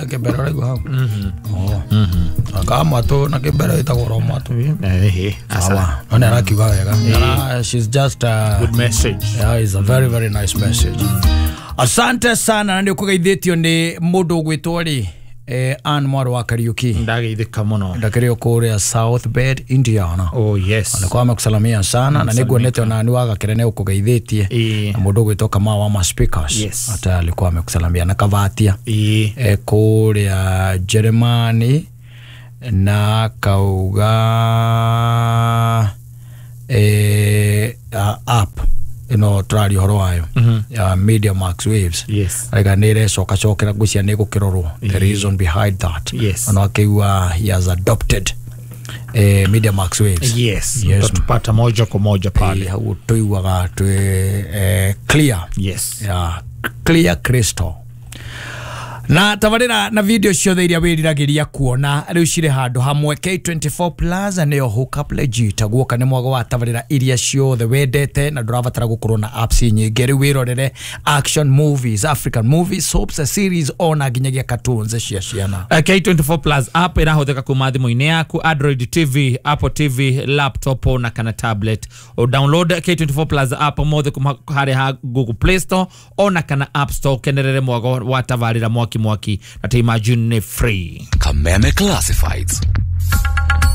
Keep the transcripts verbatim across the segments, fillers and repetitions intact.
Kĩmbere ũraigua hau. Aka mwatũ na kĩmbere ĩtagwo ro mwatũ. Ehe. Sawa. No nĩ arakiuga wega. Na she's just a good message. Yeah, it's a very very nice message. Asante sana na nĩ ũkũgeithĩtio nĩ mũndũ ũgwĩtwo rĩ eh, Ann Mwarĩ wa Kariuki. Ndageithĩka mũno. Ndakĩrĩ o kũrĩa South Bend, Indiana. Oh yes. Alikuwa amekusalamia sana na nĩguonete ona nĩ wagakĩre nĩ ũkũgeithĩtie. Ĩĩ. Na mũndũ ũgwĩtwo Kamau wa ma speakers. Yes. Hata alikuwa amekusalamia na Kavatia. Ĩĩ. E, kũrĩa Jeremani na kauga e, uh, app ĩno tũraria ũhoro wayo ya Media Max Waves. Yes. Arega nĩ ĩrecoka cokera ngwĩciria nĩ ĩgũkĩrorwo the reason behind that. Yes. Ona akĩigua he has adopted eh, Media Max Waves. Yes. Yes. Utatupata moja kwa moja pale. Eh, hau tũiguaga twĩ eh, clear. Yes. Yeah, clear crystal. Na tabarĩra na video ciothe iria wĩriragĩria kuona rĩu cirĩ handũ hamwe. K twenty-four Plus nĩyo hookup legit. Guoka nĩ mwago wa tabarĩra iria ciothe wendete na ndũrabatara gũkorwo na apps nyingĩ. Rĩu wĩrorere action movies, African movies, soaps, series ona nginyagia cartoons cia ciana. Uh, K twenty-four Plus app ĩrahũthĩka kuma thimũ-inĩ yaku, Android T V, Apple T V, laptop na kana tablet. O download K twenty-four Plus app mothe kuma harĩ ha Google Play Store ona kana App Store, kenerere mwago wa tabarĩra mwaki mwaki na ta imagine nĩ free. Kameme Classifieds.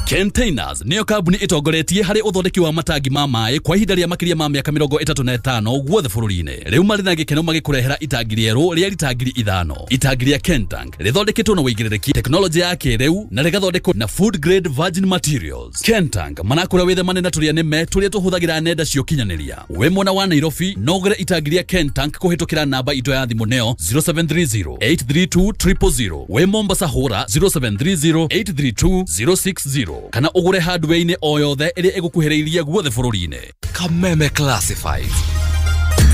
Containers nĩyo kambuni ĩtongoretie harĩ ũthondeki wa matangi ma maĩ kwa ihinda rĩa makĩria ma mĩaka mĩrongo ĩtatũ na ĩtano guothe bũrũri-inĩ. Rĩu marĩ na gĩkeno magĩkũrehera itangi rĩerũ rĩa rita ngiri ithano. Itangi rĩa Kentank rĩthondeketwo na ũigĩrĩrĩki, tekinoronjĩ ya kĩrĩu na rĩgathondekwo na food grade virgin materials. Kentank manakũra wĩthemane na tũrĩa nĩme tũrĩa tũhũthagĩra nenda cia ũkinyanĩria. Wĩ mwena wa Nairobi no ũgũre itangi rĩa Kentank kũhĩtũkĩra namba itũ ya thimũ nĩyo zero seven three zero eight three two triple zero. Wĩ Mombasa hũra zero seven three zero eight three two zero six zero kana ũgũre hardware-inĩ o yothe ĩrĩa ĩgũkuhĩrĩirie guothe bũrũri-inĩ. Kameme Classifieds.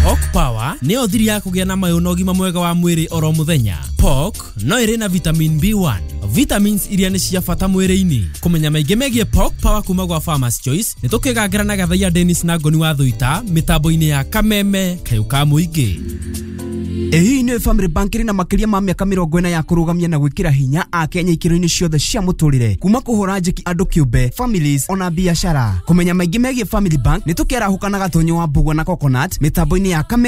Pork Power nĩyo thiri ya kũgĩa na mayũ na ũgima mwega wa mwĩrĩ oro mũthenya. Pork no ĩrĩ na vitamin B one, vitamins iria nĩ cia bata mwĩrĩ-inĩ. Kũmenya maingĩ megiĩ Pork Power kuma gwa Farmers Choice nĩ tũkĩgangĩra na Gathaiya Dennis na Ngoni wa Thuita mĩtambo-inĩ ya Kameme kayũ ka mũingĩ. Ĩhihi nĩ Family Bank ĩrĩ na makĩria ma mĩaka mĩrongo ĩna ya kũrũgamia na gwĩkĩra hinya Akenya ikĩro-inĩ ciothe cia mũtũrĩre, kuma kũhũra njeki andũ kĩũmbe, families ona biacara. Kũmenya maingĩ megiĩ Family Bank nĩ tũkĩarahũka na Gatonyo wa Mbugua na Coconut mĩtambo-inĩ ya Kameme.